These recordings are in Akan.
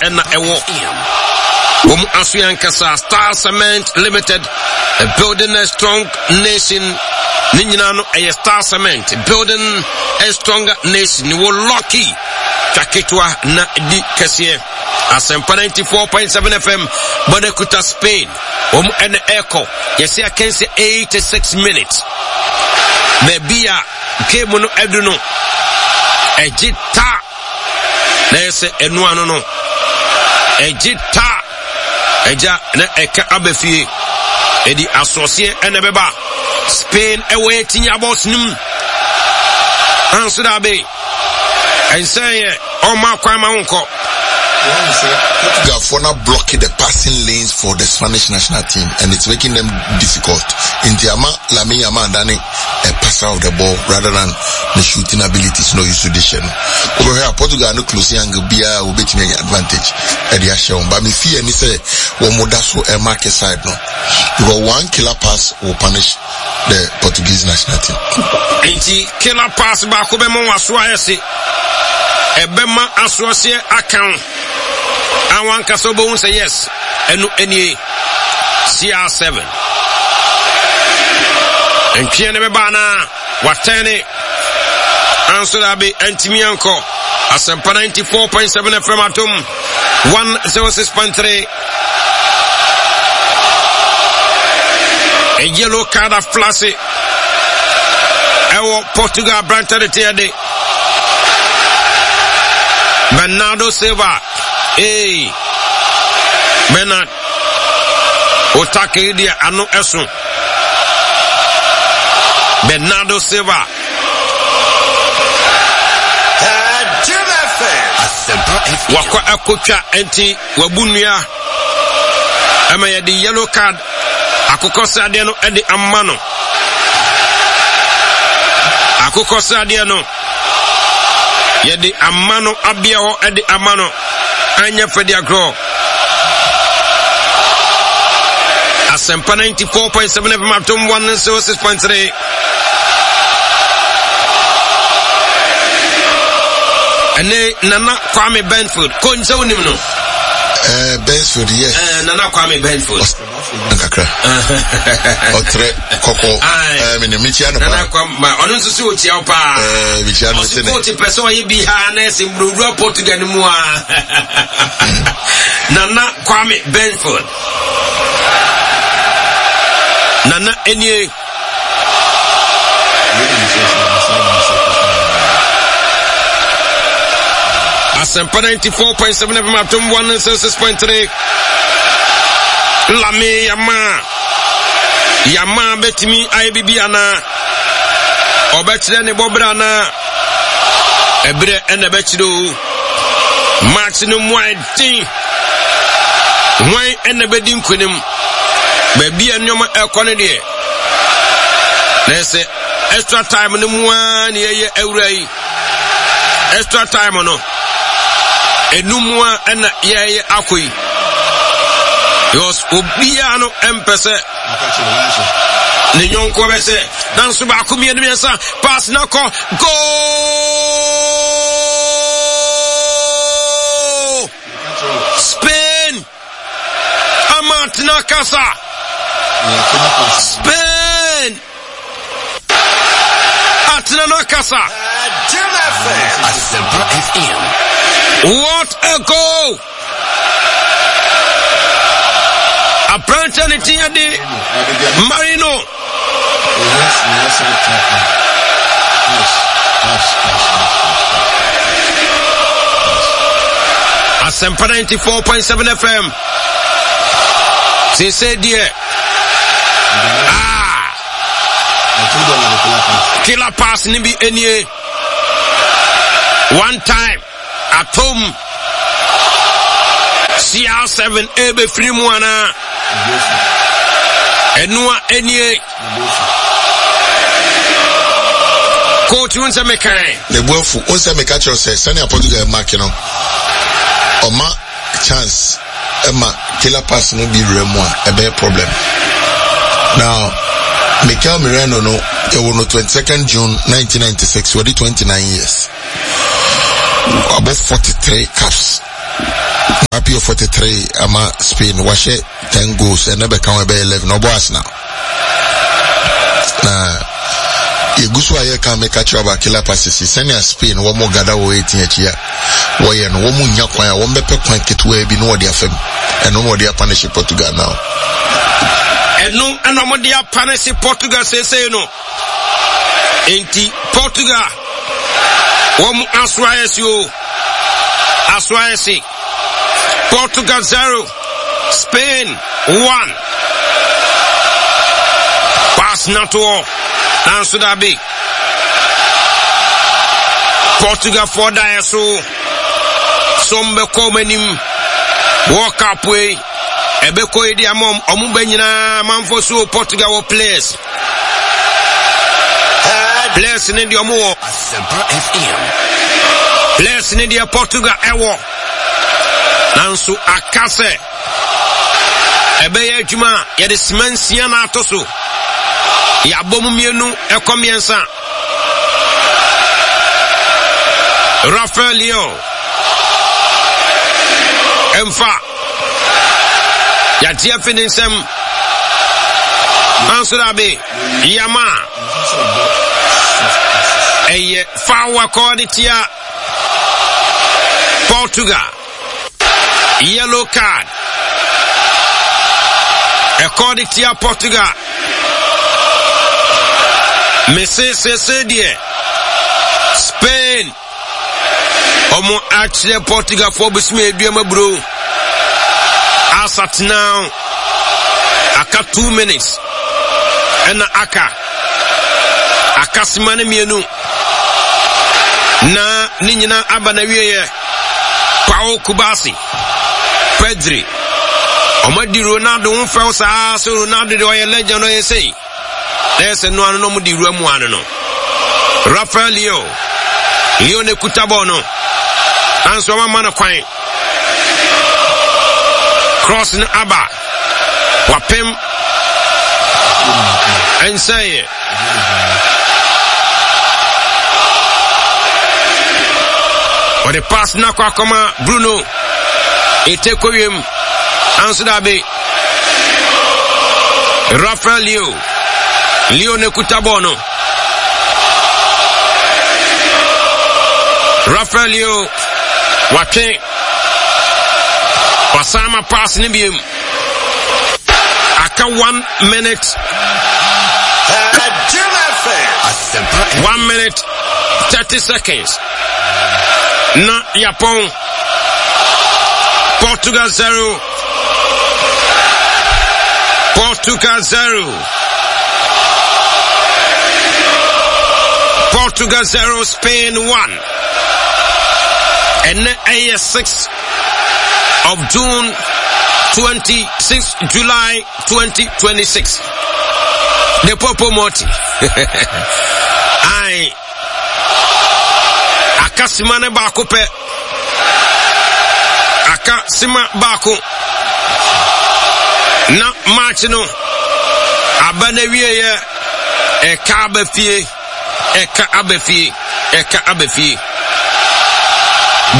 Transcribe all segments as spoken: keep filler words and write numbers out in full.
ɛna ɛwɔ wɔn aso yɛn ankasa Star Cement Limited building a strong nation ne nyinaa no ɛyɛ Star Cement building a stronger nation wɔ lucky twa ketewa na di kɛseɛ Asɛmpa ninety four point seven FM bɔdɛ kuta Spain wɔn ɛna ɛkɔ yɛsɛ akansi eighty six minutes baabi a game no ɛdu no ɛgye ta na yɛ sɛ ɛno ano no ɛgye ta ɛgya na ɛka aba fie ɛdi asoɔseɛ ɛna ɛbɛba Spain ɛwɔ yɛ tinya bɔs no mu anso da abe ɛnsɛn yɛ ɔma kwan ma wo nkɔ. Portugal now blocking the passing lanes for the Spanish national team and it's making them difficult. Nti ama Lamine Yamal dane a passer of the ball rather than the shooting abilities no use to this no. Wobɛhwɛ a Portugal no close angle biara wobɛtumi anya advantage ɛde ahyɛ wɔn. But me fear ni sɛ wɔn mo da so ɛmark side no because one killer pass will punish the Portuguese national team. Nti killer pass baako bɛma wɔn aso ayɛ se ɛbɛma asoɔseɛ aka wo a wankasa wobɛhu sɛ yes ɛno nie C R seven ntweɛ no bɛba anaa watɛne anso da be antimi ankɔ Asɛmpa ninety four point seven F M Atom one zero six point three a yellow card aflase ɛwɔ Portugal aberante de teɛ de Bernardo Silva ee Bernard otake deɛ ano ɛso Bernardo Silva wakɔ akotwa nti wabu nnua ɛma yɛde yellow card akokɔsradeɛ no ɛde ama no akokɔsradeɛ no yɛde ama no abea hɔ ɛde ama no anyɛ fɛde agorɔ Asɛmpa ninety four point seven F M Atom one zero six point three ɛne Nana Kwame Benfield ko nsɛ wonim no uh, Benfield yes uh, Nana Kwame Benfield kakra ɔtrɛ kɔkɔ ɛɛ mene mekyia no Nana Kwame ma ɔno nso sɛ ɔkyia wo paa ɛɛ mekyia no sɛ ne ɔse pɛ sɛ ɔyɛ bi ha na ɛsɛ mburowura Portugal no mu a Nana Kwame Benfield Nana enie Asɛmpa ninety four point seven F M Atom one six point three Lame Yama Yama betimi ayɛ bibi ana ɔbɛkyerɛ ne bɔbrɛ ana ɛberɛ ɛna ɛbɛkyerɛ o match no mu ayɛ den hwan ɛna bɛdi nkonim baabi a nneɛma ɛkɔ no deɛ na ɛsɛ extra time no mu ara na yɛyɛ awura yi extra time no enum a ɛna yɛyɛ akɔ yi because obiara no ɛmpɛ sɛ ne nyɔnko bɛ sɛ nanso baako mmienu mmiɛnsa pass na kɔ goal Spain amatena kasa Spain atena no kasa what a goal aberante ne teɛ de Marino Asɛmpa ninety four point seven F M seesei deɛ ah killer pass ne bi enie one time atom C R seven ebefiri mu anaa ɛnoa enie coach wo nsɛ mekan ne buafu wo nsɛ meka kyerɛ sɛ sɛnea Portugal mark no ɔma chance ɛma killer pass no bi wura mu a ɛbɛyɛ problem. Now Mikel Merino no ɛwɔ no twenty second June nineteen ninety six wɔde twenty nine years abɔ forty three caps Mbappe yɛ forty three ama Spain wahyɛ ten goals ɛnɛ bɛka ho ɛbɛyɛ eleven ɔbɔ Arsenal na yɛgu so a yɛka meka kyerɛ aba killer passes sɛnea Spain wɔn gada wɔ eighteen akyi a wɔyɛ no wɔn nya kwan a wɔn bɛpɛ kwan ketewa bi na wɔde afam ɛno na wɔde apanehye Portugal now. Ɛno ɛna wɔde apanehye Portugal seesei no. Enti Portugal wɔn aso ayɛ se o aso ayɛ se Portugal zero Spain one pass natoɔ nanso dabi Portugal foɔ daeɛ so so mbɛkɔ wɔn anim World Cup yi ɛbɛkɔ yi di ama wɔn bɛ nyinaa amanfoɔ so Portugal wɔ players. Players ne deɛ ɔmo wɔ. Asempa F M. Players ne deɛ Portugal ɛwɔ. Nanso aka sɛ ɛbɛyɛ adwuma a yɛde sima nsia na ato so. Yɛabɔ mu mmienu ɛkɔ mmiɛnsa. Rafael Leao ɛmfa yɛagye afi ne nsam. Nanso dabe yama ɛyɛ foul akɔ de tia Portugal. Yellow card ɛkɔ de tia Portugal. Mese sese deɛ Spain ɔmo akyerɛ Portugalfoɔ bosome aduam aburo. As at now, aka two minutes ɛna aka aka sima no mmienu na ne nyinaa aba na wieɛ. Pau Cubarsi, Pedri, ɔmo adi Ronaldo ho fɛw saa sɛ Ronaldo deɛ ɔyɛ legend, ɔyɛ sei na yɛ sɛ noa no na ɔmo de wura mu ano no. Rafael Leao, Leo ne kuta bɔɔl no nanso ɔmo ama no kwan. Cross no aba wapem ɛnsɛeɛ. Ɔde pass no akɔ akɔma Bruno ete kɔwiem nanso dabe. Rafael Leao, Leo ne kuta bɔɔl no. Rafael Leao watwe wasan ma pass ne biem. Aka one minute, one minute thirty seconds na yapɔn. Portugal zero, Portugal zero, Portugal zero, Spain one. Ɛnɛ ɛyɛ six of June twenty-six July twenty twenty-six. The Popo Moti ai aka sima ne baako pɛ, aka sima baako na match no aba na wieɛ. Ɛka aba fie, ɛka aba fie, ɛka aba fie.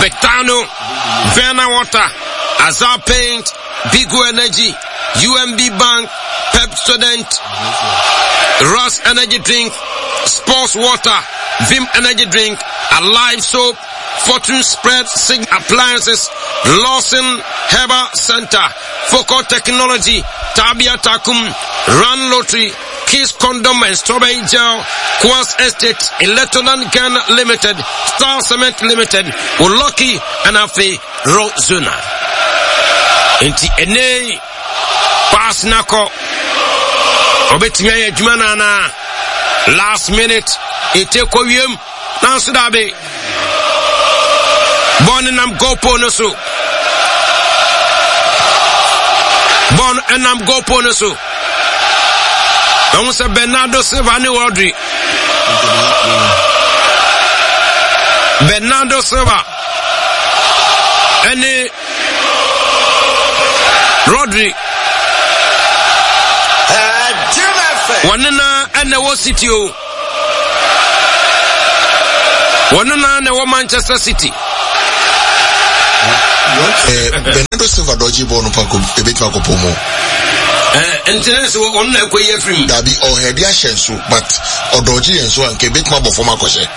Betano Verna Water, Azar Paint, Bigo Energy, U M B Bank, Pepsodent, Ross Energy Drink, Sports Water, Vim Energy Drink, Alive Soap, Fortune Spread, Sig Appliances, Lawson Herbal Center, Focal Technology, Tabia Takum, Run Lottery, Kiss Condom and Strawberry Gel, Kwas Estate, Electroland Ghana Limited, Star Cement Limited, Oloki, and Afe Rozuna. Nti ɛnɛ pass nakɔ ɔbɛtumi ayɛ adwuma no anaa? Last minute ɛte kɔ wiem nanso dabe bɔɔl no nam goal pole no so, bɔɔl no ɛnam goal pole no so. Ɛho sɛ Bernardo Silva ne Rodri, Bernardo Silva ɛne Rodri wɔne na ɛna ɛwɔ City o, wɔne na na ɛwɔ Manchester City. Eh, Bernardo Silva dɔgye bɔɔl no pa ko ebetumi akɔpɔ mu. Eh, nti na sɛ ɔno na ɛkɔ yi afiri mu. Dabi ɔhɛde ahyɛ nso but ɔdɔgye yɛn so anka ebetumi abɔ fam akɔhyɛ.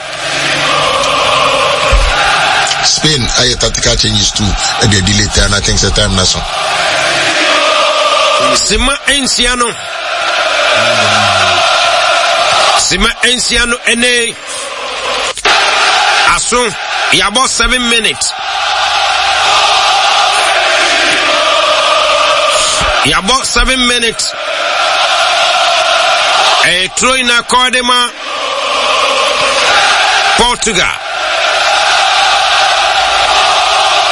Spain ayɛ tactical changes too ɛde delay time I think sɛ time na so. Sima nsia no. Sima nsia no ɛnɛ aso yabɔ seven minutes. Yabɔ seven minutes. Ɛyɛ turo na kɔɔde ma Portugal.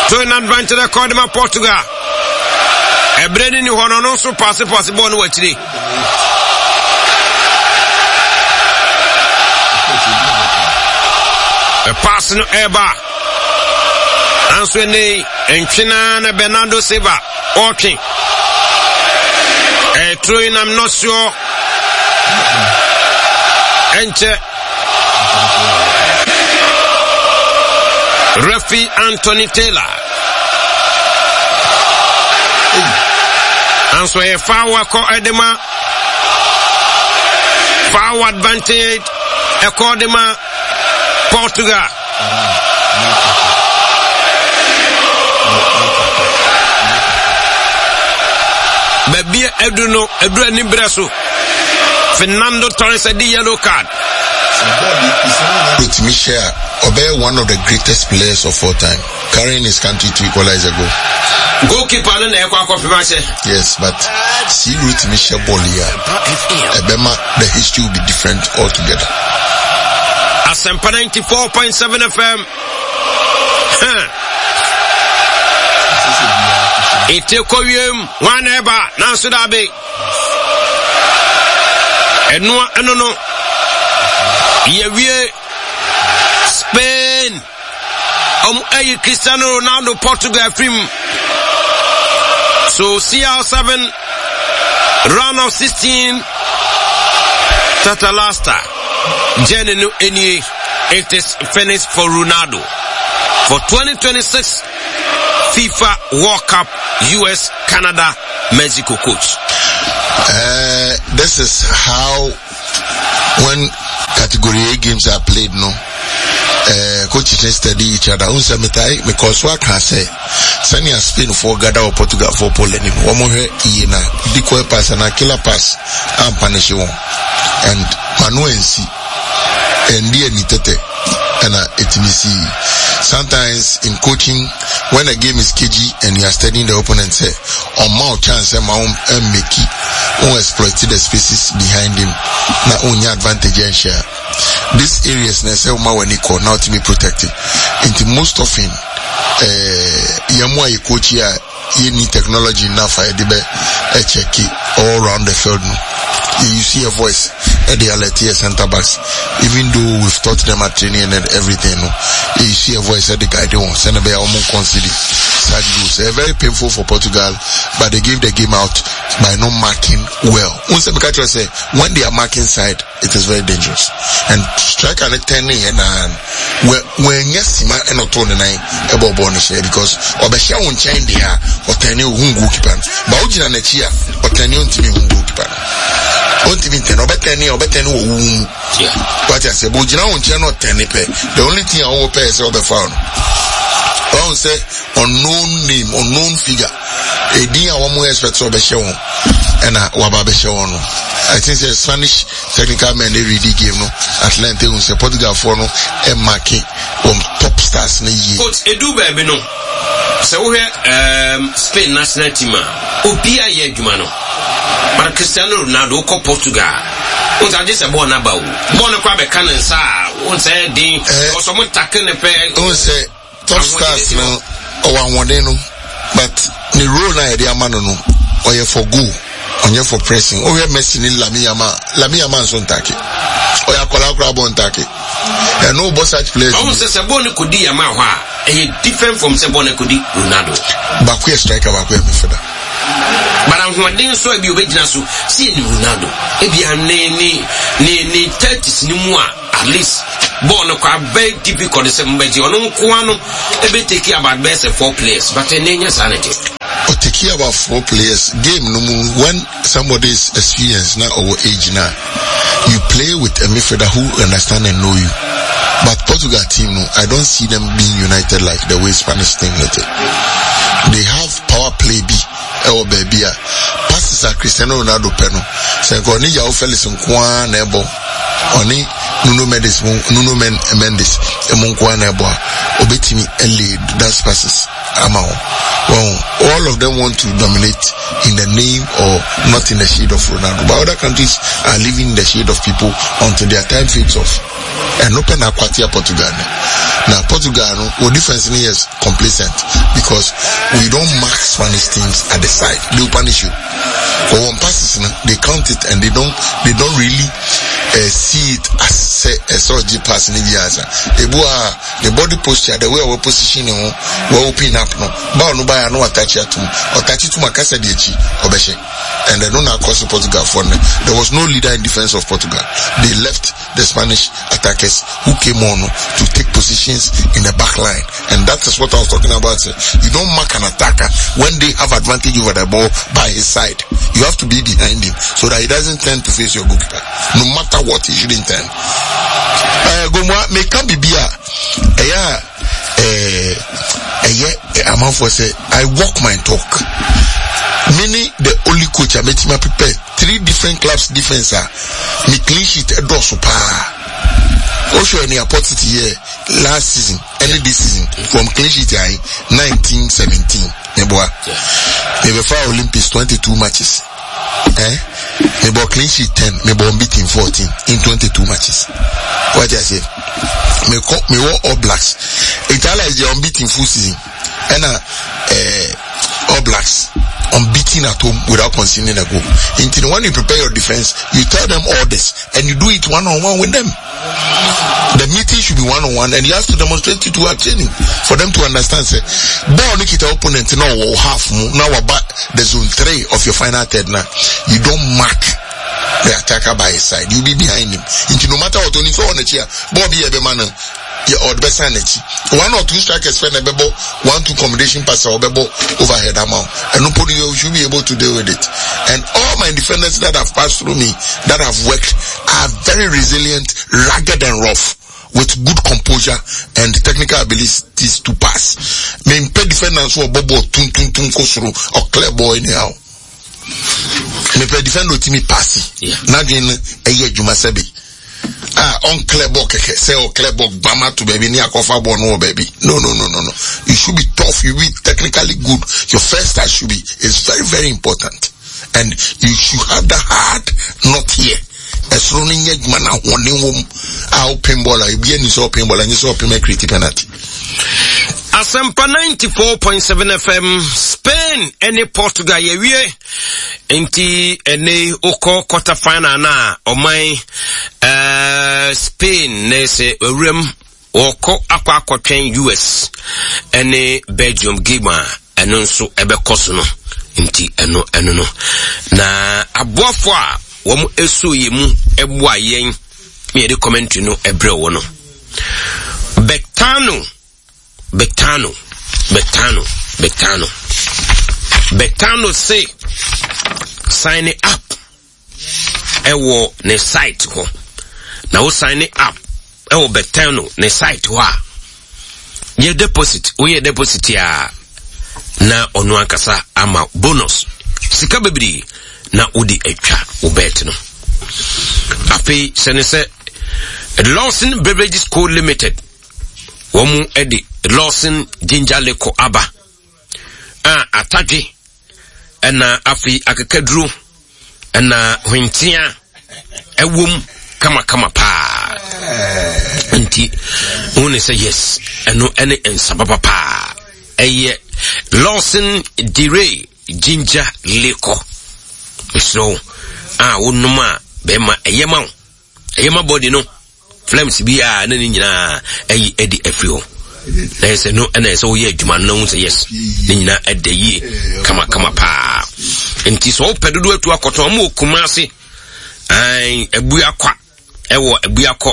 Turo na advantage kɔɔde ma Portugal. Ɛbrɛ ni ni hɔ no ɔno nso paase paase bɔɔl no wɔ akyire. Paase no ɛreba. Nanso ɛnɛ ntwena na Bernardo Silva ɔretwe. Ɛturo yi nam nɔsoɔ ɛnkyɛ. Referee Anthony Taylor. Nanso ɛyɛ foul akɔ ɛde ma foul advantage ɛkɔ de ma Portugal. Baabi a adu no adu ani berɛ so. Fernando Torres adi yellow card. Otumi hyɛ a ɔbɛyɛ one of the greatest players of all time carrying his country to equalize a goal. Goalkeeper no na ɛkɔ akɔfem ahyɛ. Yes, but si rotumi hyɛ ball yi a ɛbɛma the history will be different altogether. Asempa ninety-four point seven F M. Huh. Ete kɔ wiem wọn na ɛba nanso dabe. Ɛnoa ɛno no yɛwie Spain ɔmo ayi Cristiano Ronaldo Portugal firim so C R seven round of sixteen Tatalasta journey no nie. It is finished for Ronaldo for twenty twenty-six FIFA World Cup U S Canada Mexico, coach. Uh, this is how when category A games are played, no. Uh, coaches study each other. Unsa metai because what can say sɛnea Spain foɔ gada wɔ Portugal foɔ pole anim wɔn hwɛ yie na decoy pass ana killer pass ampanish wɔn and manu nsi ɛndi ani tɛtɛ ɛna ɛtumi si. Sometimes in coaching, when a game is cagey and you are studying the opponent, sɛ ɔma o chance sɛ ma wɔn ɛmmeki wɔn exploit the spaces behind him na ɔnya advantage ɛnhyɛ a, these areas na ɛsɛ ɔma w'ani kɔ na ɔtumi protect it. Nti most often ɛɛ yɛn mu a yɛ coach yi a yɛni technology enough a yɛde bɛ ɛcheck all round the field no, you you see a voice ɛde alert yɛ center backs. Even though we've taught them at training and everything no, you see a voice ɛde guide wɔn sɛnɛ bɛyɛ wɔn concede such goals. Ɛyɛ very painful for Portugal, but they gave the game out by not marking well. N sɛ meka kyerɛ sɛ when they are marking side, it is very dangerous and striker ne ten ne yɛ naa wɔnyɛ sima ɛna ɔtoo ne nan ɛbɔ bɔɔl no hyɛ because ɔbɛhyɛ wo nkyɛn deɛ a ɔtɛne ohun goalkeeper no ba wogyina n'akyi a ɔtɛne ɔntumi ohun goalkeeper no, ɔntumi ntɛne, ɔbɛtɛne a ɔbɛtɛne wɔ wo mu wate aseɛ bɛ ogyina wo nkyɛn na ɔtɛne pɛ, the only thing a wɔwɔ pɛ yɛ sɛ ɔbɛfa no ɔn sɛ unknown name, unknown figure, edin a wɔn expect sɛ ɔbɛhyɛ wɔn ɛna waba abɛhyɛ wɔn no. I think sɛ Spanish technical men dey read the game no at length ehun sɛ Portugal foɔ no ɛmark wɔn top stars no yie. Coach, edu baabi no sɛ wohwɛ um, Spain national team a obi a yɛ adwuma no, but Cristiano Ronaldo wokɔ Portugal wọn sɛ agye sɛ bɔɔl n'aba o bɔɔl no kora bɛka ne nsa a wọn sɛ den ɔsɔ mo take ne pɛ. Ohun sɛ top stars no ɔwɔ ahoɔden no, but ne role na yɛde ama no no ɔyɛ for goal, ɔnyɛ for pressing. Wohwɛ Messi ne Lamine Yamal, Lamine Yamal nso ntake, ɔyɛ akwadaa koraa bɔ ntake ɛno bɔ such players. Ɔhun sɛ sɛ bɔɔl no kɔdi Yamal hɔ a ɛyɛ different from sɛ bɔɔl no kɔdi Ronaldo. Baako yɛ striker, baako yɛ midfielder. But ahoɔden nso a ebi obɛgyina so si yɛ ne Ronaldo ebi a ne ne ne ne thirties ne mu a at least Ball no kɔ very difficult sɛ mbɛgye ɔno nkoa no ebe take about bɛyɛ sɛ four players, but ɛnɛ nyɛ saa ne te. Or take about four players game no mu. When somebody is experienced now or age now, you play with a midfielder who understand and know you. But Portugal team no, I don't see them being united like the way Spanish team let it. They have power play bi ɛwɔ baabi a passes a Cristiano Ronaldo pɛ no, sɛ nka ɔne João Felix nko ara na ɛbɔ, ɔne Nuno Mendes mu, Nuno Men Mendes mu nko ara na ɛbɔ a, obetumi ɛlay those passes ama wɔn. Well, all of them want to dominate in the name or not in the shade of Ronaldo, but other countries are living in the shade of people until their time fades off. Ɛno pɛ na akwatia Portugal no. Na Portugal no, wɔ defense no yɛ complacent because we don't mark Spanish teams at the side. They will punish you. For one passes no, they count it and they don't they don't really uh, see it as say a sort of pass in the answer. Ebu a the body posture, the way our position no, we open up no. Ba no ba no attach atum. Attach to makasa di akyi obehye. And then no across Portugal for no. There was no leader in defense of Portugal. They left the Spanish attackers who came on to take positions in the back line. And that is what I was talking about. You don't mark an attacker when they have advantage over the ball by his side. You have to be behind him so that he doesn't turn to face your goalkeeper. No matter what, he shouldn't turn. Uh, Gomwa, me can be beer. Eh, eh, eh, amanfoɔ sɛ I walk my talk. Meaning the only coach I met him prepare three different clubs defense a me clean sheet ɛdɔɔso paa. Osho any opportunity here last season, any this season from clean sheet I nineteen seventeen. Neboa. Mebɛfa Olympics twenty-two matches. Eh? Mebɔ clean sheet ten, mebɔ unbeaten fourteen in twenty-two matches. What I say? Me ko me wɔ All Blacks. Italy is the unbeaten full season. And uh, eh, All Blacks unbeaten at home without conceding a goal. Until when you prepare your defense, you tell them all this and you do it one on one with them. The meeting should be one on one, and you have to demonstrate it to our training for them to understand. Say, ball nikita opponent now half now about the zone three of your final third. Now you don't mark the attacker by his side. You be behind him. Until no matter what, only so on the chair. Ball be every man. Yeah, or the best energy. One or two strikers spend a bebo, one two combination pass or bebo overhead amount. And nobody should be able to deal with it. And all my defenders that have passed through me, that have worked, are very resilient, rugged and rough, with good composure and technical abilities to pass. Me mpe defenders who are bobo tun tun tun kosoro or clear boy anyhow. Me pe defender otimi pass. Yeah. Na dwen eye adwuma sebe. Ah, on clear ball keke say o clear ball gbama to baby ni akofa ball no baby. No no no no no. You should be tough, you be technically good. Your first touch should be is very very important. And you should have the hard not here. Esro ni nye adwuma na ahoɔden wɔ mu. A open ball a ebi ani sɛ open ball a nye sɛ open ma create penalty. Asempa ninety-four point seven F M, Spain ɛne Portugal yɛwie. Nti ɛne okɔ quarter final na ɔman, eh, Spain na sɛ ewuram wɔkɔ akɔ akɔtwɛn U S ɛne Belgium game a ɛno nso ɛbɛkɔ so no. Nti ɛno, ɛno no. Na aboafo a wɔn eso yɛ mu ɛboa yɛn ne yɛde commentary no ɛbrɛ wɔ no. Betano, Betano, Betano, Betano. Betano say sign up ɛwɔ ne site hɔ. Na wo sign up ɛwɔ Betano ne site hɔ a yɛ deposit, wo yɛ deposit a na ɔno ankasa ama bonus sika bebree na wode atwa wo bet no. Afei sɛ ne sɛ Lawson Beverages Co Limited wɔn mu de Lawson Ginger Liquor aba a atadwe ɛna afei akekaduro ɛna hwentia ɛwom kamakama paa. Nti wɔn ne sɛ yes ɛno ɛne nsa papa paa. Ɛyɛ Lawson Dire Ginger Liquor. Mesrɛ a wonom a bɛrima ɛyɛ ma wo. Ɛyɛ ma body no. Flames bi a na ne nyinaa ɛyi ɛdi afiri hɔ. Na ɛsɛ no ɛna ɛsɛ woyɛ adwuma no na wohu sɛ yes ne nyinaa ɛda yie kamakama paa. Nti sɛ wopɛ dodoɔ atu akɔtɔn, ɔmo wɔ Kumase, ae, Abuakwa, ɛwɔ Abuakɔ,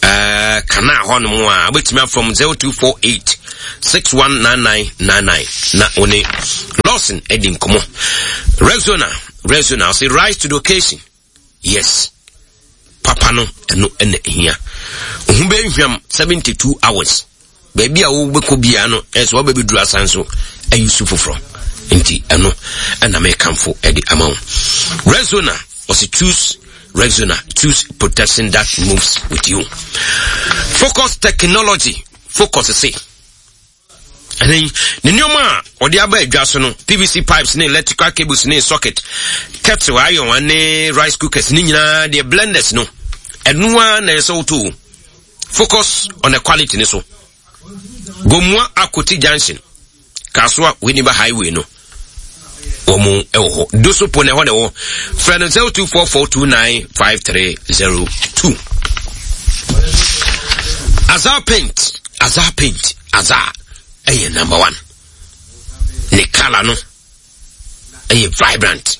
uh, kana hɔnom a wobɛtumi afrɛ zero two four eight six one nine nine nine nine na wo ne Lawson adi nkɔmmɔ. Rexona, Rexona ɔse rise to the occasion. Yes, papa no ɛno ɛna ehia. Ohun bɛhwam seventy two hours. Baabi a wobɛkɔ biara no ɛsɛ wabɛbɛduru asan so ayi su foforɔ. Nti ɛno ɛna mekamfo ɛde ama wo. Rexona ɔse choose Rexona, choose protection that moves with you. Focus Technology, Focus se ɛnɛ ne nneɛma a ɔde aba adwa so no, P V C pipes ne electrical cables ne socket, kettle, iron ne rice cookers ne nyinaa deɛ, blenders no, ɛno ara na ɛsɛ woto. Focus on the quality ne so. Gomua Akoti Junction, Kasoa Winneba Highway no, wɔn wɔ hɔ. Dosopo na ɛhɔ na ɛwɔ. Frɛ no zero two four four two nine five three zero two. Azar Paint, Azar Paint, Azar ɛyɛ number one. Ne colour no ɛyɛ vibrant,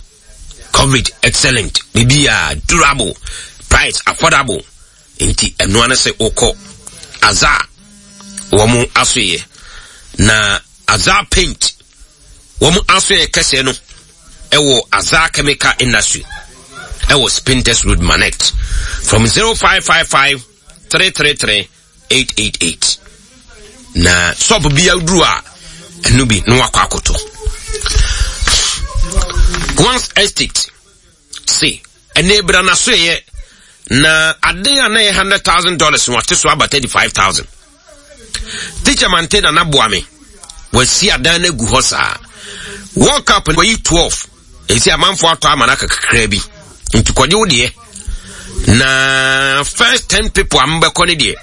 coverage excellent, biribi a durable, price affordable. Nti ɛnoa no sɛ wokɔ Azar wɔn asoyɛ na Azar Paint wɔn asoyɛ kɛseɛ no ɛwɔ Azar Chemical Industry, ɛwɔ Spintex Road, Manet, from zero five five five three three three eight eight eight na shop bi aduru a ɛno bi na wakɔ akoto. Once Estate se ɛnɛ ebira n'asoyɛ na ade a na yɛ hundred thousand dollars wɔate so aba thirty five thousand. Teacher Mante na naboa me wasi adan no agu hɔ saa. World Cup wɔyi twelve esi amanfoɔ atɔ ama no aka kakra bi, nti kɔgye wo deɛ na first ten people a mbɛkɔ ne deɛ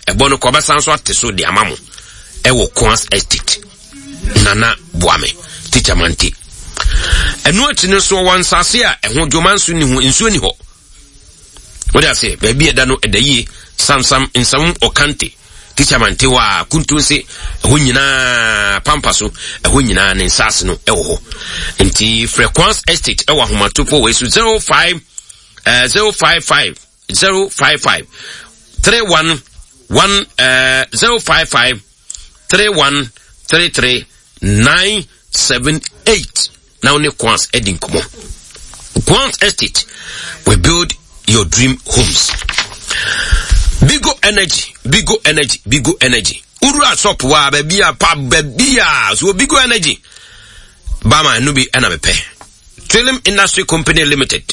ɛbɔ no kɔbɛsan so ate so de ama mo ɛwɔ Kwans Estate. Nana boa me Teacher Mante. Ɛno akyi no nso ɔwɔ nsase a ɛho dwoma nso ni ho, nsuo ni hɔ. Wode ase baabi ɛda no ɛda yie, Samsam Nsam Ɔkante, Teacher Mante hɔ a Kuntunse ɛhɔ nyinaa, Pampa so ɛhɔ nyinaa ne nsase no ɛwɔ hɔ. Nti frɛ Kwans Estate ɛwɔ ahomatofo wɔ so zero five uh, zero five five zero five five three one one uh, zero five five three one three three nine seven eight na wo ne Kwans ɛdi nkɔmɔ. Kwans Estate, we build your dream homes. Bigo Energy, Bigo Energy, Bigo Energy. Wura shop wa baabi a pa baabi a so Bigo Energy bama ɛno bi ɛna mepɛ. Trillium Industry Company Limited.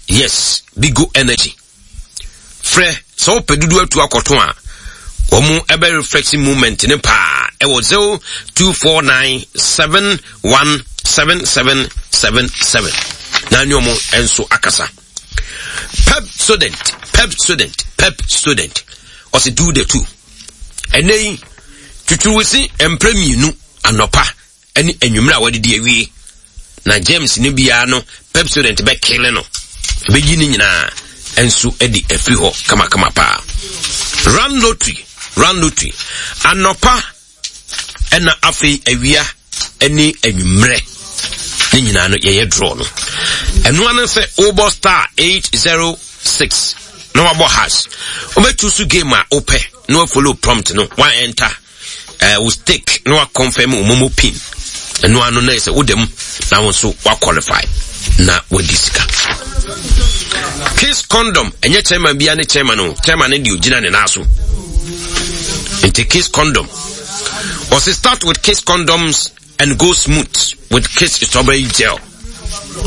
Yes, Bigo Energy. Frɛ sɛ wopɛ dodo atu akɔto a wɔn ɛbɛ reflection movement ne paa ɛwɔ zero two four nine seven one seven seven seven seven na ne wɔn nso akasa. Pep Student, Pep Student, Pep Student ɔsi do the two. Ɛnɛ yi tutuwusi mpere mmienu, anɔpa ɛne anwummerɛ a wɔde awie, na germs ne biara no Pep Student bɛkele no, ɛbɛyi ne nyinaa nso de afiri hɔ kamakama paa. Run lottery, run lottery anɔpa ɛna afei awia ɛne anwummerɛ ne nyinaa no yɛyɛ draw no. Ɛno ano sɛ wobɔ star eight zero six na wabɔ hash, wobɛtu so game a wopɛ na wafollow prompt no, wa enter uh, wo stake na wa confirm wo MoMo PIN. Ɛno ano na yɛ sɛ woda mu na wo nso wa qualify na wadi sika. Kiss Condom, ɛnyɛ chairman bia ne chairman o, chairman ne deɛ ogyina ne nan so. Nti Kiss Condom ɔsi start with Kiss Condoms and go smooth with Kiss Strawberry Gel.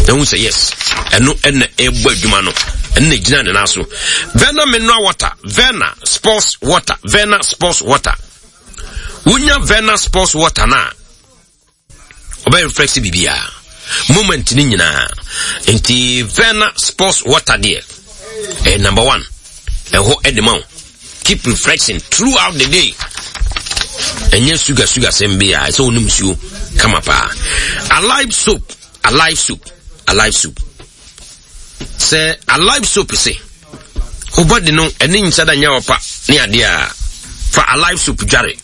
Ɛhu sɛ yes, ɛno ɛna ɛbɔ adwuma no, ɛno na gyina ne nan so. Verna Mineral Water, Verna Sports Water, Verna Sports Water. Wonya Verna Sports Water na ɔbɛyɛ reflex biribiara moment ne nyinaa. Nti Verna Sports Water deɛ ɛyɛ number one, ɛhɔ ɛde ma wo keep refreshing throughout the day. Ɛnyɛ sugar sugar sɛm bi a ɛsɛ wonom nsuo kama paa. Alive Soap, Alive Soap, Alive Soap, sɛ Alive Soap sɛ wo body no ɛne nhyɛ da nyɛ ɔpa ne adeɛ a, fa Alive Soap dware.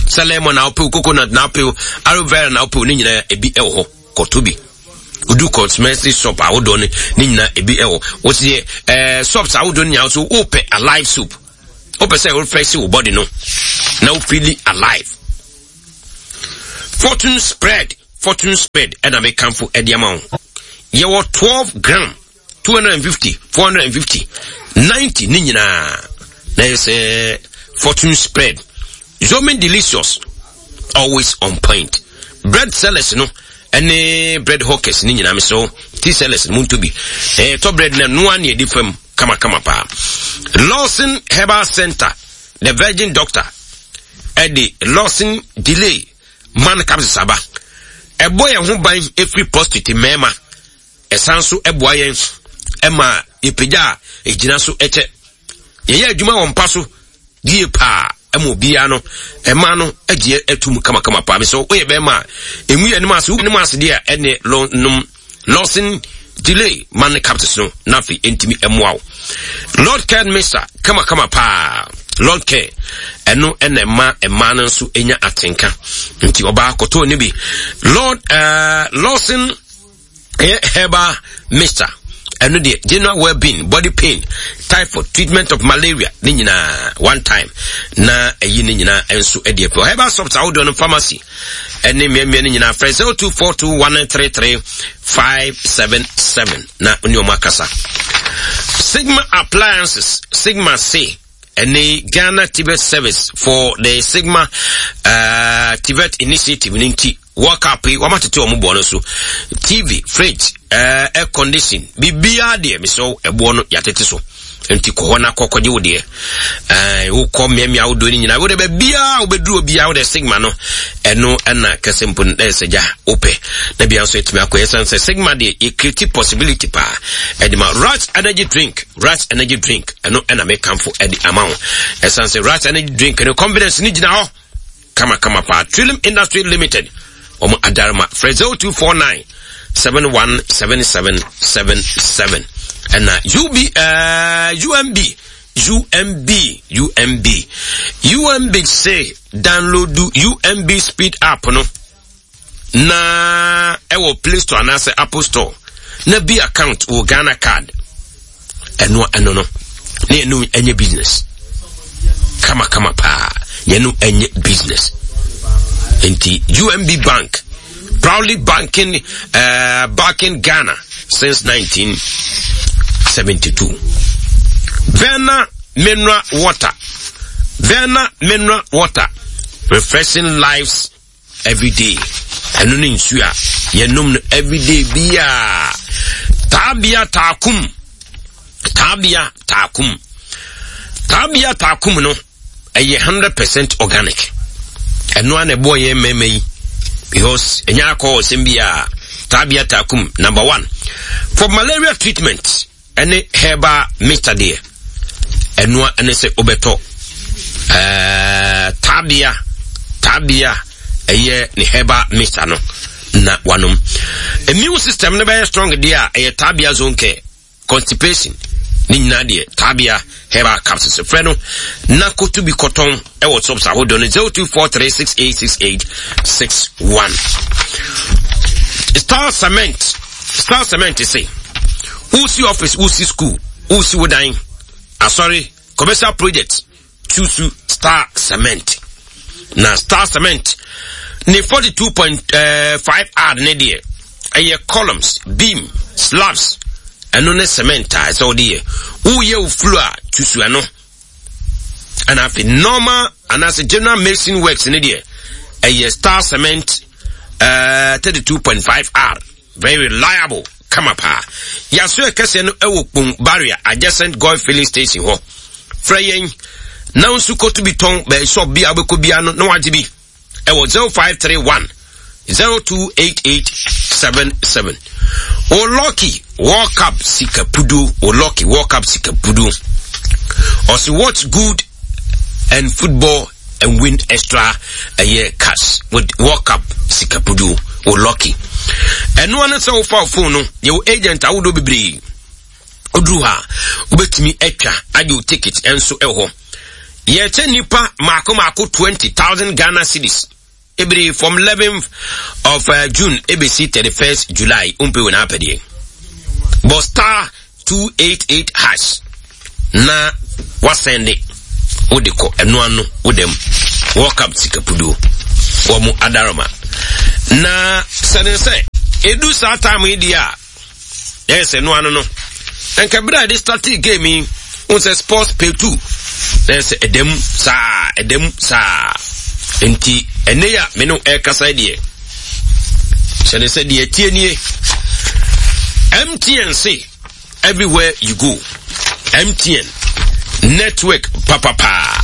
Sɛ lemon na wopɛ, coconut na wopɛ, aloe vera na wopɛ, ne nyinaa ebi ɛwɔ hɔ. Kɔtɔ bi. Odu cosmetic shop ahodoɔ no ne nyinaa ebi ɛwɔ. Wɔsi ɛɛ shops ahodoɔ no nyinaa so wopɛ Alive Soap. Wopɛ sɛ refresh wo body no na wo feel alive. Fortune Spread, Fortune Spread ɛna mekamfo ɛde ama wo. Yɛwɔ twelve gram, two hundred and fifty, four hundred and fifty, ninety ne nyinaa na yɛ sɛ Fortune Spread. Zomin Delicious, always on point. Bread sellers no ɛne bread hawkers ne nyinaa, mesɛ tea sellers no, muntu bi ɛɛ tɔ bread na noa ne yɛde fam kamakama paa. Lawson Herbal Center, the Virgin Doctor, ɛde Lawson Delay Man capsules aba. Ɛbɔ yɛn ho ban efiri prostate mmarima. Ɛsan so ɛboa yɛn ɛma yɛpagya a ɛgyina so ɛkyɛ. Yɛyɛ adwuma wɔ mpa so yie paa, ɛma obiara no ɛma no agye atum kamakama paa. Mesɛ woyɛ bɛrima a ɛmu yɛ anim ase, wonim ase deɛ a, ɛne nom Lawson Delay Man capsules no na afei ɛntumi ɛmmoa wo. Lord Care Mixture kamakama paa. Lord Care ɛno ɛna ɛma ɛma no nso ɛnya atenka, nti ɔbaa kɔtɔɔ ne bi. Lord uh, Lawson ɛyɛ herbal mixture, ɛno deɛ general well-being, body pain, typhoid, treatment of malaria ne nyinaa one time na ɛyi ne nyinaa nso ɛde apɛ. Herbal shops ahodoɔ no, pharmacy ɛne mmeammea no nyinaa, frɛ zero two four two one three three five seven seven na ne ɔmo akasa. Sigma Appliances, Sigma C ɛne Ghana T V E T Service for the Sigma uh, T V E T Initiative ne nti World Cup yi wɔn atete wɔn boɔ no so. T V, fridge, uh, air condition, biribiara deɛ, mesɛ ɛboɔ no yɛatete so, nti kɔ hɔ na kɔ kɔgye wo deɛ. ɛɛ wokɔ mmeammea ahodoɔ no nyinaa, wode baabiara wobɛduru obiara wode Sigma no, ɛno ɛna kɛse mpo no ɛyɛ sɛ gya wopɛ na bia nso ɛtumi akɔ. Yɛsan sɛ Sigma deɛ, yɛcreate possibility paa ɛde ma. Rat Energy Drink, Rat Energy Drink, ɛno ɛna mekamfo ɛde ama wo. Ɛsan sɛ Rat Energy Drink no, confidence no gyina hɔ kamakama paa. Trillium Industry Limited, wɔn adarima, frɛ zero two four nine seven one seven seven seven seven. Ɛna U B uh, U M B U M B U M B U M B say download U M B Speed app no na ɛwɔ Play Store anaasɛ Apple Store na bi account wɔ Ghana Card. Ɛno ɛno no na yɛno ɛnyɛ business kamakama paa, yɛno ɛnyɛ business. Nti U M B Bank, proudly banking uh, banking Ghana since nineteen seventy-two. Verna Mineral Water, Verna Mineral Water, refreshing lives every day. Ɛno ne nsuo a yɛnom no everyday biaa. Taabea taakum, taabea taakum, taabea taakum no ɛyɛ hundred percent organic. Ɛno a na ɛboɔ yɛn mmarima yi because ɛnyɛ akɔ ɔsɛm bi a. Taabea taakum, number one for malaria treatment ɛne herbal mixture deɛ, ɛnoa ɛne sɛ wobɛtɔ ɛɛ taabea taabea ɛyɛ ne herbal mixture no na wanom. Immune system no bɛyɛ strong deɛ a, ɛyɛ Taabea Zone Care. Constipation ne nyinaa deɛ, Taabea Herbal Capsules. Frɛ no na koto bi kɔtɔn ɛwɔ shops ahodoɔ no, zero two four three six eight six eight six one. Star Cement, Star Cement se wosi office, wosi school, wosi wo dan, asɔre, commercial project, choose Star Cement. Na Star Cement ne forty-two point five R ne deɛ, ɛyɛ columns, beam, slabs. Ɛno ne cement a ɛsɛ wode yɛ. Woyɛ wo floor a, choose ɛno. Ɛna afei normal anaasɛ general mason works ne deɛ, ɛyɛ Star Cement uh, thirty-two point five R, very reliable kama paa. Yɛaso ɛkɛseɛ no ɛwɔ Kpong Barrier, adjacent Goil filling station hɔ. Frɛ yɛn na nso kɔto bi tɔn bɛɛ shop bi a wobɛkɔ bia no na wagye bi ɛwɔ zero five three one zero two eight eight seven seven. O lucky World Cup sika pudu, o lucky World Cup sika pudu, ɔsi watch good and football and win extra ɛyɛ cash with World Cup sika pudu. O lucky ɛnoa no sɛ wofa wo phone no, yɛwɔ agent ahodoɔ bebree. Oduru hɔ a, wobɛtumi atwa agye wo ticket nso ɛwɔ hɔ. Yɛkyɛ nipa maako maako twenty thousand Ghana cedis ebiri from eleventh of uh, June ebesi thirty-first July. Wompe wɔ n'apɛdeɛ, bɔ star two eight eight hash na wasɛnde Wode kɔ ɛno ano wodam World Cup sikapuduo wɔn adaroma na sɛne sɛ edu saa time yi deɛ a ɛyɛ sɛ ɛno ano no nka bere a yɛde start game yi wɔn sɛ sports pay two na ɛyɛ sɛ ɛdam saa, ɛdam saa. Nti ɛnɛ yi a me no ɛrekasa deɛ, sɛne sɛ deɛ tie nie, M T N se everywhere you go, M T N network papapaa.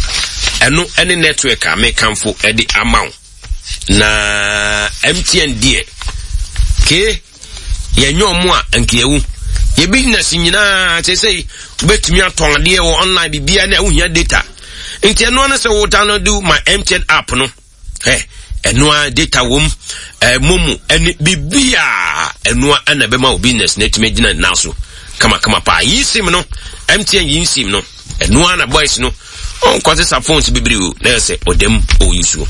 Ɛno ɛne network a mekamfo ɛde ama wo na M T N deɛ ke yɛnyɛ ɔmo a nkeawu yɛ business nyinaa kyerɛ sɛ wobɛtumi atɔn adeɛ wɔ online, biribiara ne a wohia data. Nti ɛno ano sɛ wo download my M T N app no ɛ ɛno a data wom, ɛ momo ɛne biribiara. Ɛno a ɛna ɛbɛma wo business na ɛtumi agyina nan so kamakama paa. Yi SIM no, M T N yi SIM no, ɛno a na boys no ɔnkɔ sesa phones bebree o na yɛ sɛ ɔdam ɔyi so.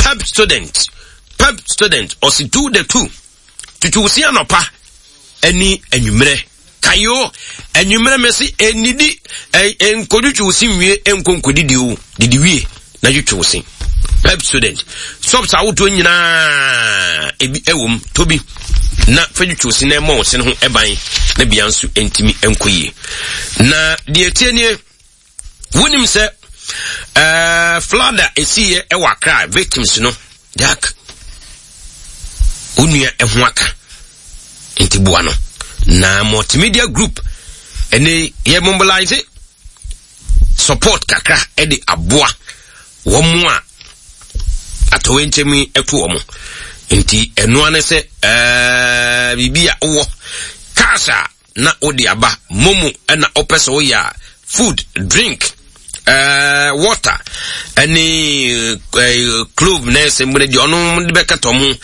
Pepsodent, Pepsodent ɔsi do the two tutu wosi anɔpa ɛne anwummerɛ kayo. Anwummerɛ mɛ si enidi ɛ nkɔdwitwi wosi nwie, nkɔ nkɔdidi o, didi wie na twitwi wosi. Pepsodent shops ahodoɔ nyinaa ebi ɛwɔ mu. Tobi na fɛdwitwi wosi na ɛmɔ wosi no ho ɛban na bia nso ntumi nkɔ yie. Na deɛ tie nie, wonim sɛ ɛɛ flood a esiiɛ ɛwɔ Accra, victims no, Jack, wo nua ɛho aka nti boa no. Na Multimedia Group ɛne yɛ mobilize support kakra ɛde aboa wɔn a atɔwɛnkyɛm yi ɛto wɔn. Nti ɛnoa ne sɛ ɛɛ biribi a wowɔ cash a na wode aba, momo ɛna wopɛ sɛ woyɛ a, food, drink, uh, water ɛne uh, clove na ɛsɛ mu deɛ ɔno de bɛkata ɔmo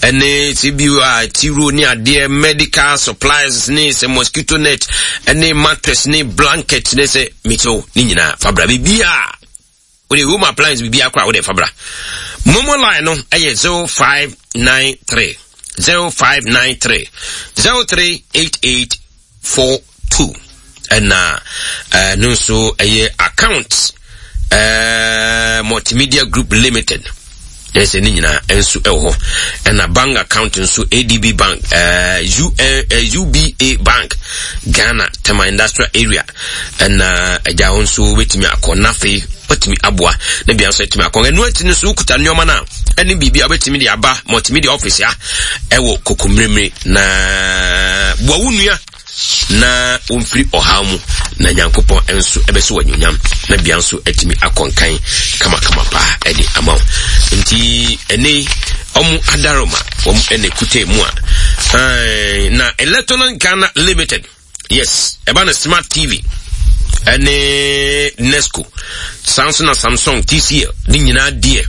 ɛne sɛ bi a tiro ne adeɛ, medical supplies ne sɛ mosquito net ɛne mattress ne blanket ne sɛ mekyɛw ne nyinaa fabra. Biribiaa wode home appliance biribiaa koraa wode fabra. Momo line no ɛyɛ zero five nine three zero five nine three zero three eight eight four two. Ɛna ɛno nso ɛyɛ account ɛɛ Multimedia Group Limited. Ɛsɛ ne nyinaa nso ɛwɔ hɔ. Ɛna bank account nso, A D B Bank, ɛɛ U ɛɛ U B A Bank Ghana, Tema Industrial Area. Ɛna ɛgya hɔ nso wobɛtumi akɔ n'afei wobɛtumi aboa na bia nso atumi akɔ. Ɛno akyi no nso wokuta nneɛma no a ɛne biribi a wobɛtumi de aba Multimedia office a ɛwɔ Kokommeremmere na boa wo nua na wɔmfiri ɔhaw mu na Nyankopɔn nso ɛbɛsɛ wɔ anuonyam na bia nso atumi akɔ nkan kamakama paa ɛde ama wo. Nti ɛne ɔmo adaroma wɔn ɛna ekuta mu a na Electronic Ghana Limited, yes, ɛba no smart T V ɛne Nesco, saa nso na Samsung, T C L ne nyinaa deɛ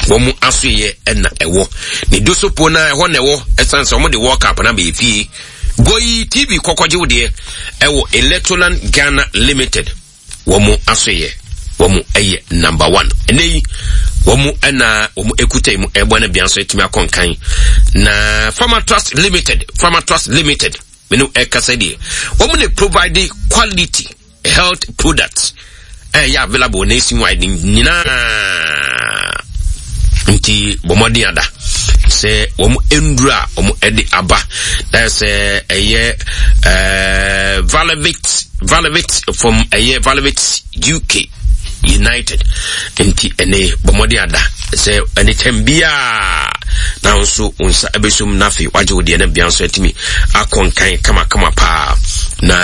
wɔn asoyɛ ɛna ɛwɔ ne dosopo na ɛhɔ na ɛwɔ. Ɛsan sɛ wɔn de World Cup na bɛyɛ fie goyi T V kɔkɔgye wo deɛ ɛwɔ Electroland Ghana Limited. Wɔn asoyɛ wɔn ɛyɛ number one. Ɛnɛ yi wɔn ɛna wɔn ekuta mu ɛbɔ no bia nso ɛtumi akɔ nkan. Na Pharmatrust Limited, Pharmatrust Limited mene ɛkasa deɛ, wɔn na provide quality health products ɛyɛ available nationwide nyinaa. Nti bɔ mmɔden ada sɛ wɔn nduru a wɔn de aba na sɛ ɛyɛ ɛɛ Valevit, Valevit from ɛyɛ Valevit U K United. Nti ɛne bɔ mmɔden ada sɛ ɛne tɛm biara na nso wo nsa ɛbɛsum na afei wagye wo deɛ na bia nso atumi akɔ nkan kamakama paa. Na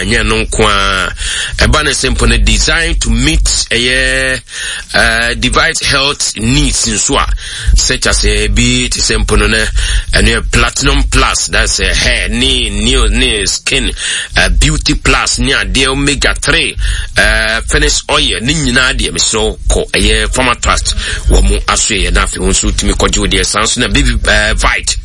nyɛ no nko a, ɛba ne sɛ mpo no design to meet ɛyɛ uh, device health needs nso a, such as bi te sɛ mpo no no ɛno yɛ Platinum Plus, that's uh, hair ne nail ne skin, uh, Beauty Plus ne adeɛ, omega three, uh, finish oil ne nyinaa deɛ, mesrɛ kɔ ɛyɛ Pharma Trust wɔ mo aso yɛ na afei wo nso wotumi kɔgye wo deɛ. Saa nso na Baby uh, Vite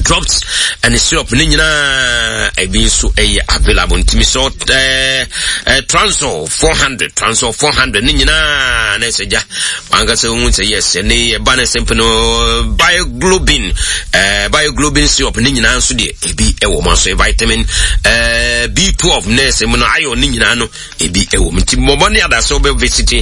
drops ɛne syrup ne nyinaa ebi nso ɛyɛ available. Ntumi sɛ ɛɛ ɛɛ Transol four hundred, Transol four hundred ne nyinaa na ɛsɛ gya wankasa ohun sɛ yes. Ɛne ɛba ne sɛmp no Bioglobin, ɛɛ Bioglobin syrup ne nyinaa nso deɛ ebi ɛwɔ mu aso vitamin ɛɛ eh, B twelve nurse mu no, iron ne nyinaa no ebi ɛwɔ mu. Nti mmɔbɔ ne adasɛ wobɛ visit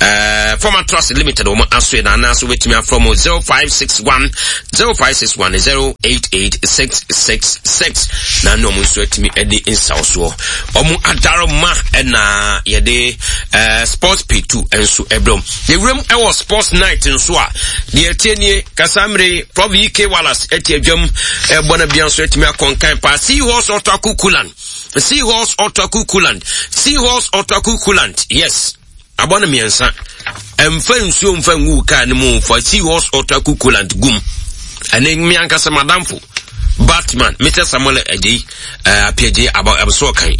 eh, Former Trust Limited wɔn asoɛ na anaasɛ wobɛtumi afrɛ mu zero five six one zero five six one zero eight eight six six six na ne ɔmo nso atumi de nsaw soɔ. Ɔmo adaro ma ɛna yɛde eh, Sports P two nso ɛbrɛ mu. Yɛwuram ɛwɔ Sports Night nso a, deɛ ɛtie nie: kasamire Prof Ek Wallace ɛte adwam ɛbɔ no bia nso atumi akɔnkan paa. Seahorse Ɔtɔako Coolant, Seahorse Ɔtɔako Coolant, Seahorse Ɔtɔako Coolant, yes, abɔ no mmiɛnsa. Ɛmfa nsuo mfa ngu kaa no mu, fa Seahorse Ɔtɔako Coolant gum. Ɛne me ankasa madamfo Batman Mister Samuel Agyei uh, Apiagyei abɛso ɔkan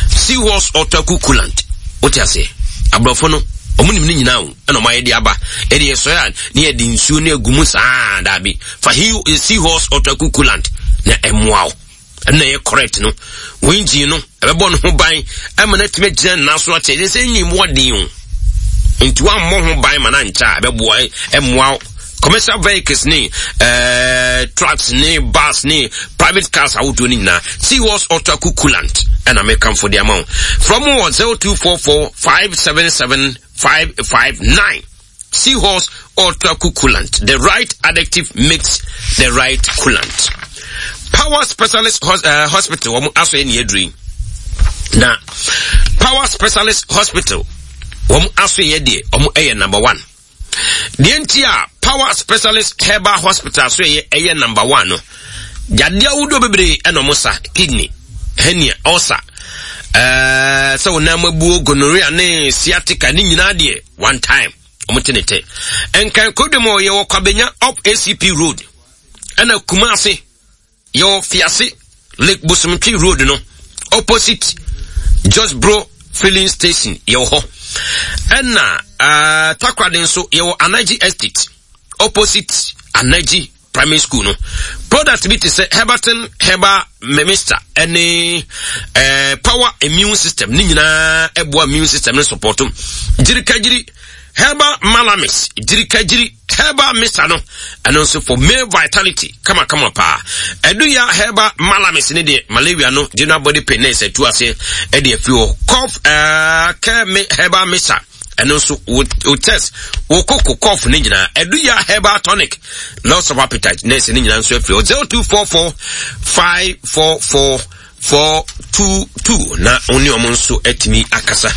Seahorse Ɔtɔako Coolant. Wote aseɛ, aborɔfo no ɔmo nim ne nyinaa o, ɛna ɔmo ayɛ de aba. Ɛde yɛsɔre a, ne yɛde nsuo ne agu mu saa. Daabi, fa Seahorse Ɔtɔako Coolant na ɛmmoa wo. Ɛno na ɛyɛ correct no. Wɔn engine no ɛbɛbɔ ne ho ban ɛma no atumi agyina ne nan so akyɛ. Ɛsɛ sɛ engine mu ɔden o, nti wammɔ ho ban ma no ankyɛ a, ɛbɛboa ɛmmoa wo. Commercial vehicles ne uh, trucks ne bus ne private cars ahodoɔ no nyinaa, Seahorse Ɔtɔako Coolant ɛna mekamfo de ama wo. From wɔ zero two four four five seven seven five five nine. Seahorse Ultra Coolant. The right additive makes the right coolant. Power Specialist Hos uh, Hospital, wɔn aso yɛ ne aduru na Power Specialist Hospital wɔn aso yɛ deɛ wɔn yɛ number one. Deɛ nti a Power Specialist Herbal Hospital so yɛ ɛyɛ number one no, yadeɛ ahodoɔ bebree ɛna wɔn sa: kidney, hernia, ulcer, ɛɛ sɛ wɔn nan abuo, gonorrhea ne sciatica ne nyinaa deɛ, one time wɔn te ne tɛ. Nkan kodwom a yɛwɔ Kwabenya up A C P Road, ɛna Kumase yɛwɔ Fiase Lake Bosomtwe Road no, opposite Josbro Filling Station yɛwɔ hɔ, ɛna uh, Takoradi nso yɛwɔ Anaji Estate, opposite Anaji Primary School no. Product bi te sɛ Herbatin Herbal Mixture ɛne eh, Power Immune System ne nyinaa ɛboa immune system no support. Gyirikagyiri Herbal Malamis, Gyirikagyiri Herbal Mixture no, ɛno nso for male vitality kamakama paa. Ɛdu ya Herbal Malamis ne deɛ, malaria no, general body pain na ɛsɛ tu aseɛ ɛde afiri hɔ. Cough ɛɛ care Herbal Mixture, ɛno nso wo test wo koko cough ne nyinaa. Ɛdu ya Herbal Tonic, loss of appetite na ɛsɛ ne nyinaa nso afiri hɔ. zero two four four five four four four two two na wo ne ɔmo nso atumi akasa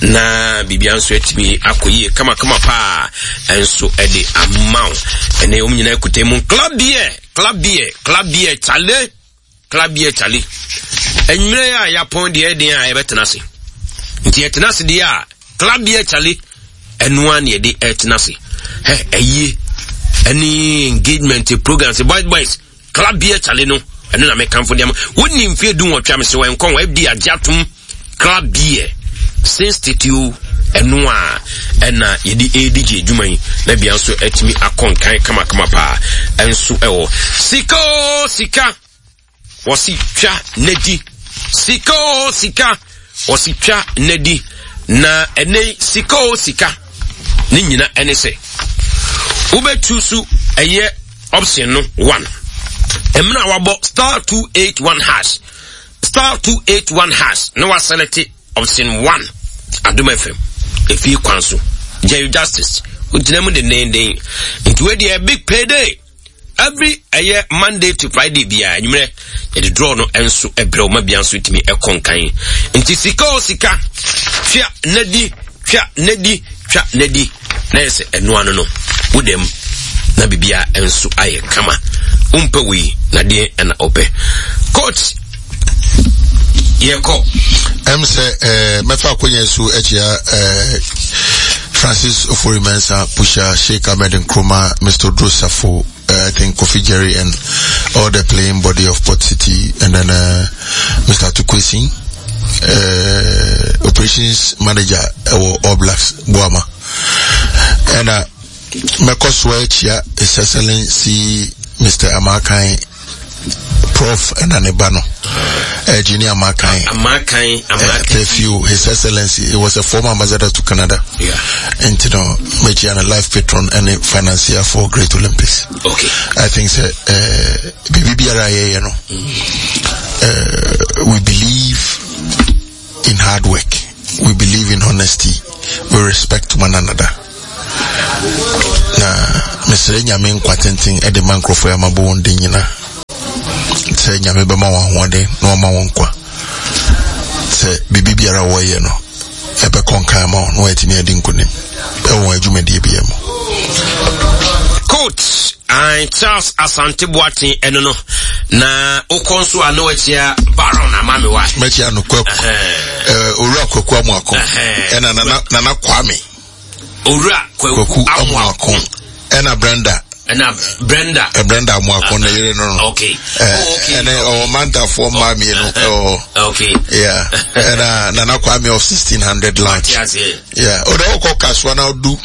na biribia nso atumi akɔ yie kamakama paa ɛnso ɛde ama wo. Ɛne ɔmo nyinaa kuta mu Club Beer, Club Beer, Club Beer, chale, Club Beer, chale. Anwummerɛ a yɛapɔn deɛ, ɛden a yɛbɛtena ase nti yɛtena ase deɛ a, Club Beer, chale, ɛnoa ne yɛde ɛtena ase. Hɛ, ɛyie ɛne engagement programs, boys boys, Club Beer, chale no, ɛno na mekamfo deɛ ma wonni mfeɛ du nwɔtwe a mesɛ wɔnkɔ wɔ F D A agye atom. Club Beer since titio, ɛno a ɛna yɛde ɛredi adwuma yi na bia nso atumi akɔ nkan kamakama paa. Ɛnso ɛwɔ sika o, sika wɔsi twa n'adi, sika o, sika wɔsi twa n'adi. Na ɛnɛ sika o, sika ne nyina ɛne sɛ wobɛtu so ɛyɛ option no one. Mmerɛ a wabɔ star two eight one hash, star two eight one hash na waselect option one, Adom F M efie kwan so, Jerry Justice ogyina mu dendenden. Nti wei deɛ, big payday every ɛyɛ Monday to Friday biara anwummerɛ yɛde draw no nso ɛbrɛ wo ma bia nso tumi ɛkɔ nkan. Nti sika o, sika twa nadi, twa nadi, twa nadi na yɛ sɛ ɛnoa no no wodam na biribiara nso ayɛ kama. Wompɛ wei na deɛ ɛna ɔpɛ, coach, yɛkɔ. Ɛm sɛ ɛɛ mɛfa akonnwa so akyia ɛɛ Francis Ofori Mensa, Pusha, Sheikh Ahmed Nkrumah, Mister Drosafo, uh, I think Kofi Jerry and all the playing body of Port City, and then uh, Mister Tukwesi, uh, operations manager ɛwɔ All Blacks Boama. Ɛna mɛkɔ so akyia His Excellency Mister Amakan Prof ɛna ne ba no, uh, Junior Amakan. Amakan, Amakan. Uh, His Excellency, he was a former ambassador to Canada. Yeah. And you know, mekyia no, life patron and financier for Great Olympics. Okay. I think sɛ uh, biribi biara yɛyɛ no, Uh, we believe in hard work. We believe in honesty. We respect one another. Na mesrɛ Nyame nkwa tenten de ma nkurɔfoɔ yi a mabɔ wɔn din nyinaa sɛ Nyame bɛma wɔn ahoɔden na wɔma wɔn nkwa sɛ biribi biara a wɔyɛ no ɛbɛkɔ nkan ama wɔn na wɔatumi adi nkonim ɛwɔ wɔn adwumadie biara mu. Coach and Charles Asante Boateng ɛno no na wokɔ nso a na wakyia Baron ama me wa. Mɛkyia no Kwaku, Owura Kwaku Amoako ɛna Nana Nana Kwame. Owura Kwaku Amoako ɛna Brenda. Ɛna Brenda. Brenda Amoako na yere no no. Okay. Oh, okay. Ɛna ɔwɔ mantafoɔ mmaa mmienu ɛwɔ. Okay. Yeah. Ɛna Nana Kwame of sixteen hundred lunch. Yeah. Ɔdɔ ɔkɔ Kasoa na ɔdu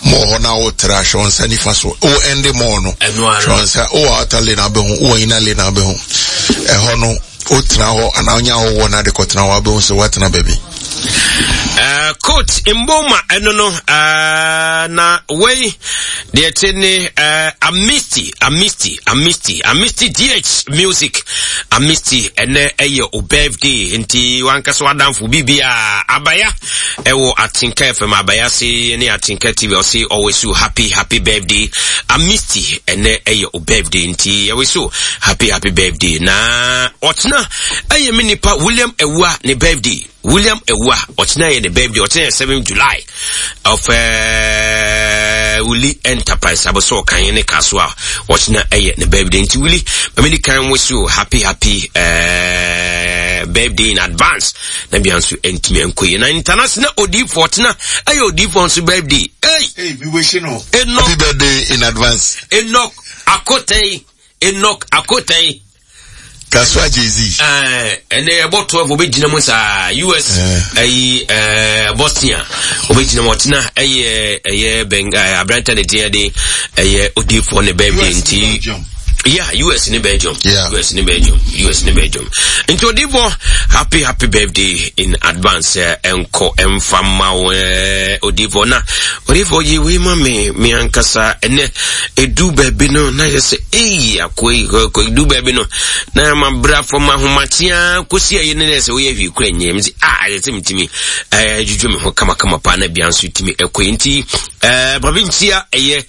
mɔɔ hɔ na ɔtra hwɛ nsa nifa so. O ɛnde mɔɔ no. Hwɛ nsa o outer lane abɛho o inner lane abɛho. Ɛhɔ no o tena hɔ anaa onya hɔ na de kɔtena hɔ abɛho sɛ watena baabi. Uh, coach Mboma ɛno no uh, na wei deɛ te ne uh, Amisti Amisti Amisti Amisti D H Music Amisti ɛnɛ ɛyɛ o birthday nti wankasa wadamfo bibia abaya ɛwɔ Atinka F M abaya se ne Atinka T V ɔse always so happy happy birthday Amisti ɛnɛ ɛyɛ o birthday nti ɛwɔ so happy happy birthday na ɔtena ɛyɛ me nipa William Ewua ne birthday. William Ewua, ɔkyena yɛ ne birthday, ɔkyena yɛ seventh July of uh, Willie Enterprise, aboso ɔkan ne kaso a ɔkyena ɛyɛ ne birthday. Nti Willie, mami kan wish you happy happy uh, birthday in advance. Na bia nso entimi enkoye. Na international Odifo ɔkyena ɛyɛ Odifo nso birthday. Hey, hey, we wish you no. Enoch, happy birthday in advance. Enoch Akotei, Enoch Akotei. Kaswa Jay-Z. Eh, and they about twelve obejina mu sa U S eh eh Bosnia obejina mu tina eh eh ben abranta ne dia de eh Odifo ne birthday nti. Yeah, U S ne Belgium. Yeah. U S ne Belgium. U S ne Belgium. Nti Odifo happy happy birthday in advance enko emfama we Odifo na Odifo yi we ma me me ankasa ene edu baby no na yese eh akoi akoi du baby no na ma bra for ma homatia kosi ayi ne se wo ye hwi kura nyem si ah yese mtimi eh juju me ho kama kama pa na bia nso timi ekoi nti eh provincia eye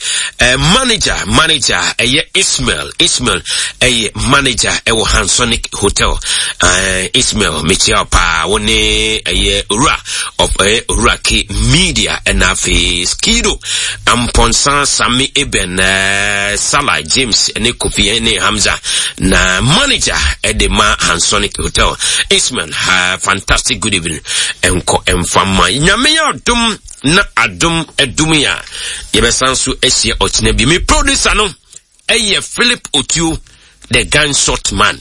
manager manager eye Ismail Ismail eye manager ewo Hansonic Hotel eh Ismail mechia pa woni eye ura of eh ura ke media na fe skido amponsan Sami Eben eh, Salah James ne Kofi ne Hamza na manager edema Hansonic Hotel Ismail ha fantastic good evening enko emfama nyame ya dum na adum edum ya yebesan so asia ochina bi me producer no eye Philip Otuo the gunshot man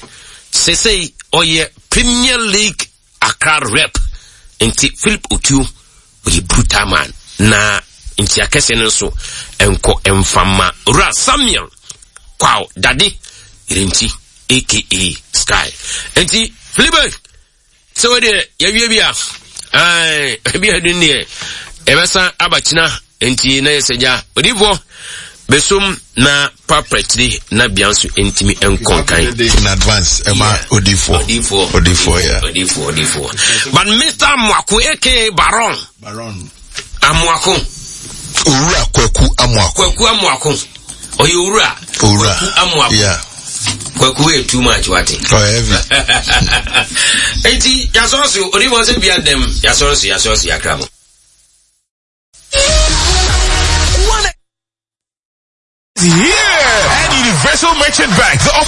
sesei oye Premier League Accra rep nti Philip Otuo oye brutal man na nti akese no so enko emfama Ra Samuel Kwao Dade Rinti aka Sky nti Philip so we de ya wie bia ai bia dun ne ebesa abachina nti na yeseja Odifo besum na papretri na bianso ntimi enkonkan in advance ema Odifo Odifo Odifo yeah Odifo Odifo but Mister Amoako aka Baron Baron Amoako Owura Kwaku Amoako Kwaku Amoako oye Owura Owura Amoako yeah Kwaku e too much what oh heavy enti yasoso Odifo se bia dem yasoso yasoso yakramo. Here at Universal Merchant Bank, the